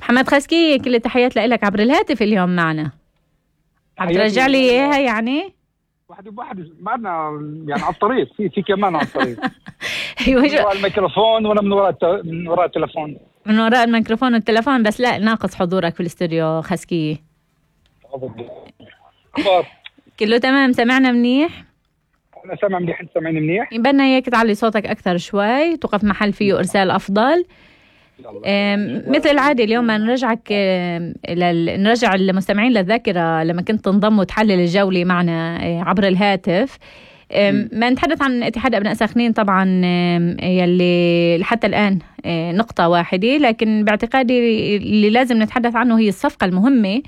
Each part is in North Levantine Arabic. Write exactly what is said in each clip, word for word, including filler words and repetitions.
محمد خسكي، كل التحيات لك عبر الهاتف اليوم معنا. عم ترجع لي اياها يعني؟ واحد بواحد معنا يعني على الطريق، في في كمان على الطريق. ايوه، من وراء الميكروفون وانا من وراء الت... من وراء التلفون. من وراء الميكروفون والتلفون، بس لا ناقص حضورك في الاستوديو خسكي. اخبار؟ كله تمام، سمعنا منيح؟ انا سامع منيح، انت سامعني منيح؟ بدنا اياك تعلي صوتك اكثر شوي، توقف محل فيه ارسال افضل. مثل العادة اليوم ما نرجعك لل... نرجع المستمعين للذاكرة لما كنت تنضم وتحلل الجولة معنا عبر الهاتف. ما نتحدث عن اتحاد أبناء سخنين طبعا، يلي حتى الآن نقطة واحدة، لكن باعتقادي اللي لازم نتحدث عنه هي الصفقة المهمة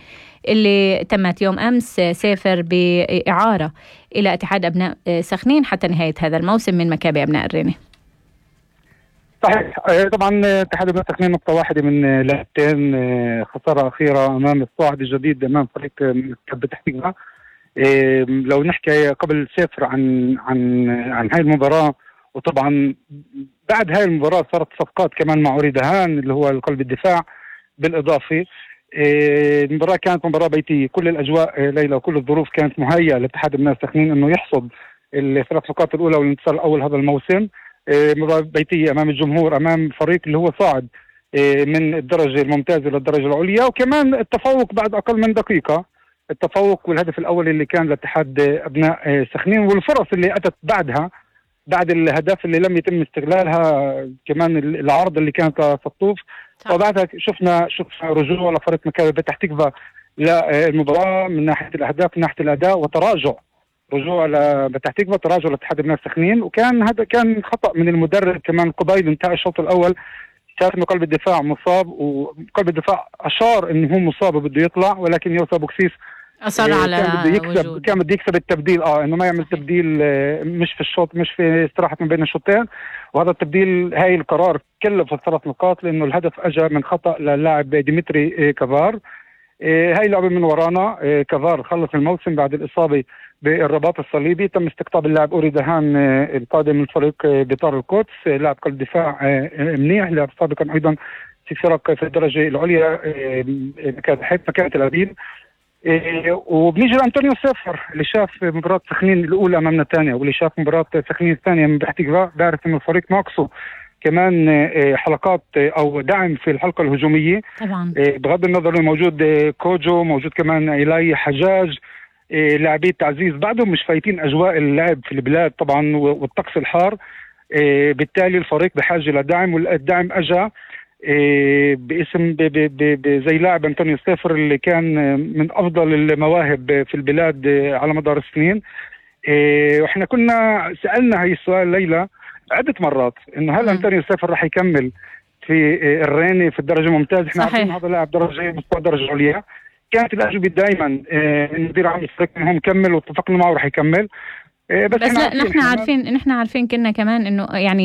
اللي تمت يوم أمس، سافر بإعارة إلى اتحاد أبناء سخنين حتى نهاية هذا الموسم من مكابي أبناء الرينة. صحيح، طبعا اتحاد أبناء سخنين نقطة واحدة من لعبتين، خسارة أخيرة أمام الصاعد الجديد أمام فريق مكابي تحتيجها. لو نحكي قبل سافر عن عن عن هاي المباراة، وطبعا بعد هاي المباراة صارت صفقات كمان مع أوري دهان اللي هو قلب الدفاع بالإضافة. المباراة كانت مباراة بيتية، كل الأجواء ليلى وكل الظروف كانت مهيئة لاتحاد أبناء سخنين إنه يحصد الثلاث نقاط الأولى والانتصار الأول هذا الموسم. مباراة بيتية أمام الجمهور، أمام فريق اللي هو صاعد من الدرجة الممتازة للدرجة العليا، وكمان التفوق بعد أقل من دقيقة، التفوق والهدف الأول اللي كان لاتحاد أبناء سخنين، والفرص اللي أتت بعدها بعد الهدف اللي لم يتم استغلالها، كمان العرض اللي كانت سطوف. وبعدها شفنا شفنا رجوع لفريق مكابي بتح تكفى للمباراة من ناحية الأهداف من ناحية الأداء، وتراجع رجوع لبتح تكفى، تراجع لاتحاد أبناء سخنين. وكان هذا كان خطأ من المدرب كمان قبيل انتهاء الشوط الأول، شاف انه قلب الدفاع مصاب، وقلب الدفاع اشار انه هو مصاب وبده يطلع، ولكن يوسف بوكسيس اصر على كان بده يكسب وجود. كان بده يكسب التبديل، اه انه ما يعمل تبديل مش في الشوط، مش في استراحه من بين الشوطين. وهذا التبديل هاي القرار كلف الثلاث نقاط، لانه الهدف اجى من خطا للاعب ديمتري كافار. هاي لعبه من ورانا، كافار خلص الموسم بعد الاصابه بالرباط الصليبي. تم استقطاب اللاعب أوري دهان القادم من فريق بطار القدس، لاعب قلب دفاع منيح، لاعب سابقا ايضا في فرق في الدرجه العليا كانت حيث مكانه الأبيل. وبنيجي لأنطونيو سافر اللي شاف مباراة سخنين الأولى أمام نتانيا، واللي شاف مباراة سخنين الثانية من بحتيجا، بيعرف إنه الفريق ناقصه كمان حلقات أو دعم في الحلقة الهجومية طبعا. بغض النظر موجود كوجو، موجود كمان إيلاي حجاج، لاعبي تعزيز بعدهم مش فايتين أجواء اللعب في البلاد طبعا والطقس الحار. بالتالي الفريق بحاجة لدعم، والدعم أجا باسم زي لاعب أنطونيو سافر اللي كان من أفضل المواهب في البلاد على مدار السنين. وإحنا كنا سألنا هاي السؤال ليلى عدة مرات، إنه هل أنطونيو سافر رح يكمل في الرينة في الدرجة الممتازة؟ إحنا عارفين هذا لاعب درجة مستوى درجة عليا. كانت الأجوبة دائما المدير عام الفريق إنه مكمل، واتفقنا معه رح يكمل. بس, بس لا، نحن عارفين نحن عارفين كنا كمان إنه يعني